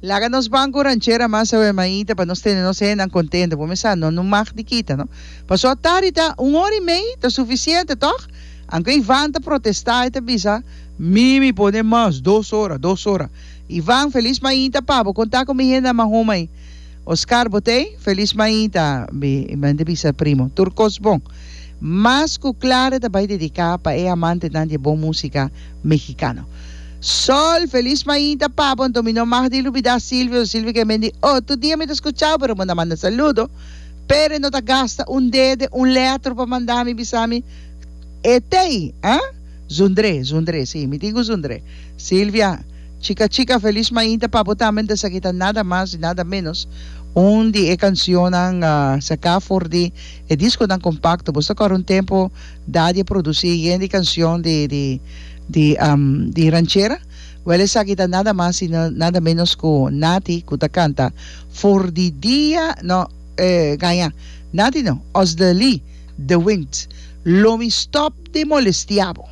Laga nos ban ku ranchera mas awe mainta pa nos tene nos hendenan kontento. Bo mesa no no mag di kita no. Paso atari ta un ora i mei ta sufisiente tòg? Anke Ivan ta protestá e ta bisa mi mi pone mas dos ora dos ora. Ivan felis mainta pa bo konta ku mi hendenan mahuma ei. Oscar bo t'ei? Felis mainta mi ta bisa primo tur kos bon. Mas ku Clara ta bai dediká pa e amantenan di e bon músika mexicano. Sol, felis mainta pabo, anto mi no mag di lubida Silvio, Silvio ke men di oh tur dia mi ta skuchao pero bo na manda saludo, pero e no ta gasta un dede, un letro pa manda mi bisa mi e tei, ah? Zundré, zundré, si, mi tin ku zundré. Silvia, chika chika felis mainta pabo tambe, anto esaki ta nada mas y nada menos un di e cancionnan saká for di e diskonan kompakto, bo sa kòrda un tempu Daddy a produci yen di cancion di di di di ranchera. Wel esaki ta nada mas y nada menos cu Nati cu ta canta For di dia no eh gaña Nati no Osdely de Wind Lo mi stop di molestia bo.